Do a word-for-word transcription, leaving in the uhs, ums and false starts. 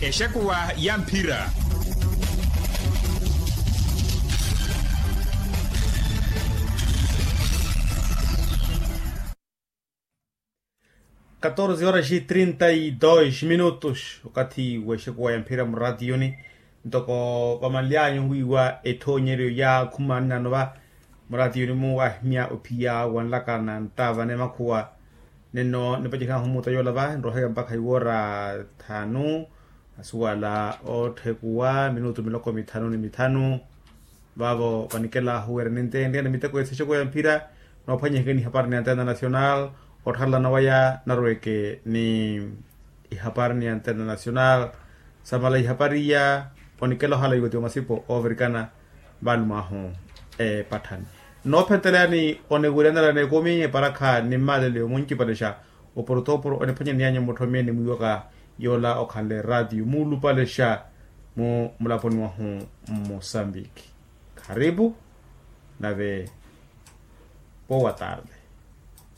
Exekuwa ya mphira. Katorze horas e trinta e dois minutos okathi w'exekuwa ya mphira muratiyoni. Ntoko vamanly'anyu owiiwa ethoonyeryo ya khumani nano va muratiyoni-mu wahimya ophiya wanlaka na nttaavane makhuwa. Nino nipacerihahu omuuta yoola va nroheka mpakha iwoora thaanu. Asuwala otthekuwa minutu miloko mithanu ni mithanu. Vaavo vanikelahu wira ninteentteya ni miteko ya sixekuwa ya mphira. Noophwanyihekeni ihapari ni antena nacional otthalana waya narweke ni ihapari ni antena nacional. Samala ihapari iya onikela ohala iwatiwa masipo oovirikana vaalumwahu epatthani. Noophenteleyani oniwiryanela n'ekumi eparakha ni mmalele omuncipalexa oporotoporo oniphwanyaniyanyu mutthomyeni mwiiwaka yoola okhanle ratio muulupalexa mu mulaponi wahu mmusambiki. Kharipu nave powa tarde.